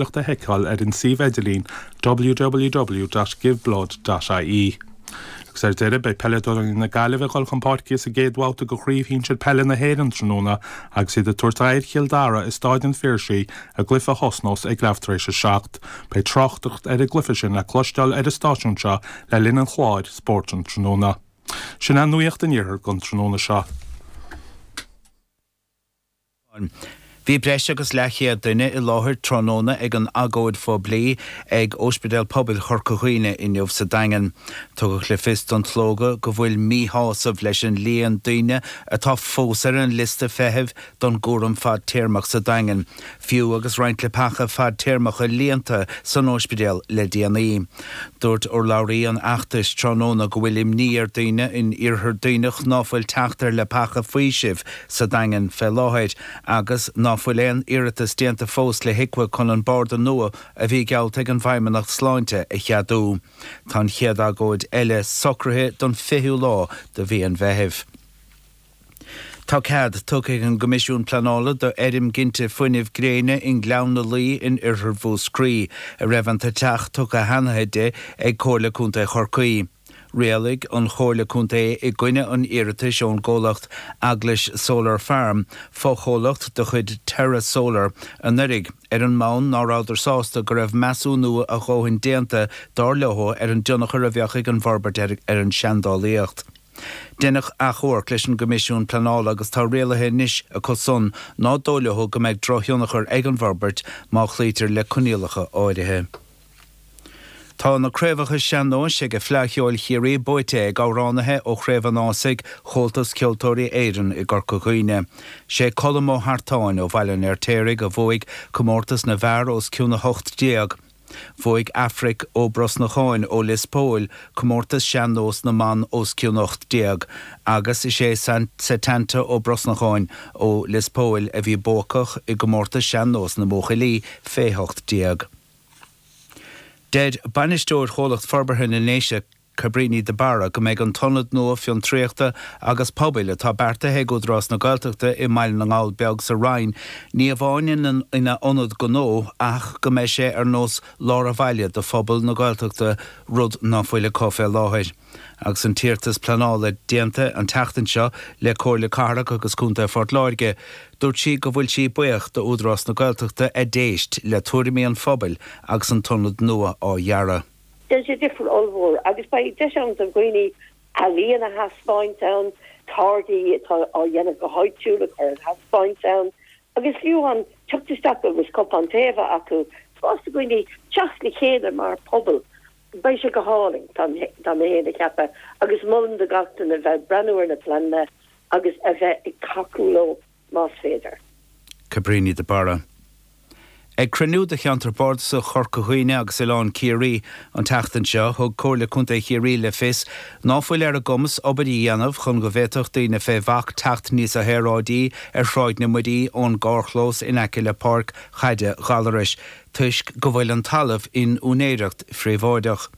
A sheiceáil ar an suíomh idirlín www.giveblood.ie. Agus ar deireadh, beidh peileadóirí na Gaillimhe ag dul chun páirce sa gcéad bhabhta de Chraobh Shinsir Peile na hÉireann tráthnóna agus iad ag tabhairt aghaidh ar Chill Dara i Stáid an Phiarsaigh i gcluiche a thosnós ag leath tar éis a 7. Beidh tráchtaireacht ar an gcluiche sin le cloisteáil ar an stáisiún seo le linn an chláir Spórt an Tráthnóna. Sin é nuacht an Iarthair don tráthnóna seo. Bhí breis agus leathchéad duine i láthair tráthnóna ag an agóid phoiblí ag Ospidéal Pobail Chorca Dhuibhne inniu sa Daingean. Tugadh le fios don tslógadh go bhfuil míshásamh leis an líon daoine atá fós ar an liosta feithimh don gcúram fadtéarmach sa Daingean, fiú agus roinnt leapacha fadtéarmacha líonta san ospidéal le déanaí. Dúirt urlabhraí an fheachtais tráthnóna go bhfuil imní ar daoine in Iarthar Duibhneach ná fuil teacht ar leapacha faoisimh sa Daingean fé láthair agus ná fuil aon iarratas déanta fós le HIQA chun an barda nua a bhí geallta ag an bhFeidhmeannacht Sláinte a cheadú. Tá an chéad agóid eile socraithe don 20ú lá de mhí an Mheithimh. Tá cead tugtha ag an gCoimisiún Pleanála do fheirm ginte fuinnimh gréine i nGleann na Laoi in oirthear Mhúscraí, a raibh an t-eiteach tugtha cheana di ag Comhairle Contae Chorcaí. Rialaigh an Chomhairle Contae i gcoinne an iarratais ón gcomhlacht Eaglais Solar Farm, fochomhlacht de chuid Terra Solar, anuraidh, ar an mbonn ná rabhadar sásta go raibh measúnú a dhóthain déanta, dar leo, ar an dtionchar a bheadh ag an bhforbairt ar an seandálaíocht. Deineadh achomharc leis an gCoimisiún Pleanála agus tá rialaithe anois acu san ná dóigh leo go mbeidh drochthionchar ag an bhforbairt má chloítear le coinníollacha áirithe. Tá na craobhacha sean-nóis ag Fleadh Cheoil Chiarraí buaite ag amhránaithe ó Chraobh an Ásaigh Chomhaltas Ceoltóirí Éireann i gCorca Dhuibhne. Sé Colm Ó hEartáin ó Bhaile an Fheirtéaraigh a bhuaigh comórtas na bhfear os cionn 18. Bhuaigh Aifric Ó Brosnacháin ó Lios Póil comórtas sean-nós na mban os cionn 18 agus is é Setanta Ó Brosnacháin ó Lios Póil a bhí buacach i gcomórtas sean-nós na mbuachaillí fé 18. Deir bainisteoir Chomhlacht Forbartha na nDéise, Cabríní de Barra go mbeidh an t-ionad nua fiontraíochta agus pobail atá beartaithe ag Údarás na Gaeltachta i mBaile na nGall Beag sa Rinn ní amháin ina ionad gnó ach go mbeidh sé ar nós lár an bhaile do phobal na Gaeltachta, rud ná fuil acu fé láthair. Agus an t-iarratas pleanála déanta an tseachtain seo le Comhairle Cathrach agus Contae Phort Láirge, dúirt sí go bhfuil sí buíoch d'Údarás na Gaeltachta a d'éist le tuairimí an phobail agus an t-ionad nua á dhearadh. Déanfaidh sé difear ollmhór agus beidh deis ann do dhaoine ealaíon a thaispeáint ann, táirgí atá á dhéanamh go háitiúil a chur ar thaispeáint ann agus fiú amháin teacht isteach agus cupán tae a bheith acu, spás do dhaoine teacht le chéile mar phobal. Beidh sé go hálainn, tá mé féin ag ceapadh, agus molaim do gach duine bheith ag breathnú ar na pleananna agus a bheith ag tacú leo más féidir. Cabríní de Barra. Ag cruinniú de Cheantar Bardasach Chorca Dhuibhne agus Oileán Ciarraí an tseachtain seo, thug Comhairle Contae Chiarraí le fios ná fuil ar a gcumas obair a dhéanamh chun go bhféadfadh daoine fé bhac teacht níosa shaoráidí ar Shráid na Muirí ón gcarrchlós in aice le Páirc Chaide Ghallarais toisc go bhfuil an talamh in úinéireacht phríobháideach.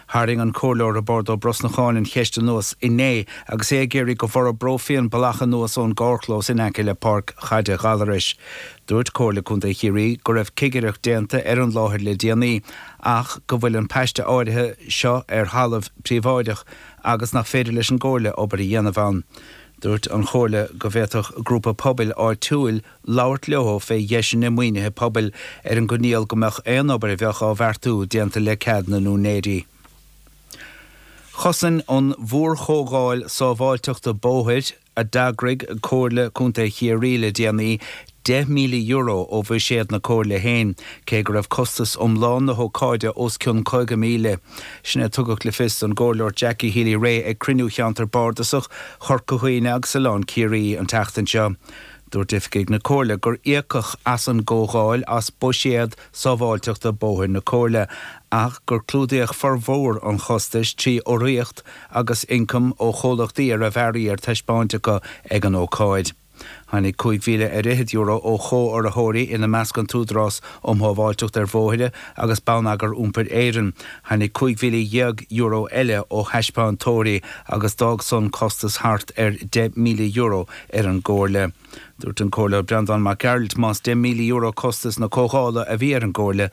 Tharraing an Comhairleoir Roibeárd Ó Brosnacháin an cheist anuas inné agus é ag iarraidh go bhforbrófaí an bealach anuas ón gcarrchlós in aice le Páirc Chaide Ghallarais. Dúirt Comhairle Contae Chiarraí go raibh cigireacht déanta ar an láthair le déanaí ach go bhfuil an paiste áirithe seo ar thalamh príobháideach agus nach féidir leis an gComhairle obair a dhéanamh ann. Dúirt an Chomhairle go bhféadfadh grúpa pobail áitiúil labhairt leo fé dheiseanna maoinithe pobail ar an gcoinníoll go mbeadh aon obair a bheadh á bheartú déanta le cead na n-úinéirí. Chosain an mhórchomhdháil sábháilteachta bóthair a d'eagraigh Comhairle Contae Chiarraí le déanaí €10,000 ó bhuiséad na Comhairle féin, cé go raibh costas iomlán na hócáide os cionn 50,000. Sin é a tugadh le fios don gComhairleoir Jackie Healy-Rae ag cruinniú Cheantar Bardasach Chorca Dhuibhne agus Oileán Ciarraí an tseachtain seo. Dúirt oifigigh na Comhairle gur íocadh as an gcomhdháil as buiséad sábháilteachta bóthair na Comhairle ach gur clúdaíodh formhór an chostais trí urraíocht agus ioncam ó chomhlachtaí a raibh earraí ar taispeáint acu ag an ócáid. Tháinig €5,000 ar fhichead ó chomhurraitheoirí, ina measc an tÚdarás um Shábháilteacht ar Bhóithre agus Bonneagar Iompair Éireann. Tháinig €15,000 eile ó thaispeántóirí agus d'fhág san costas thart ar €10,000 ar an gComhairle. Dúirt an Comhairleoir Breandán Mac Gearailt más €10,000 costas na comhdhála a bhí ar an gComhairle,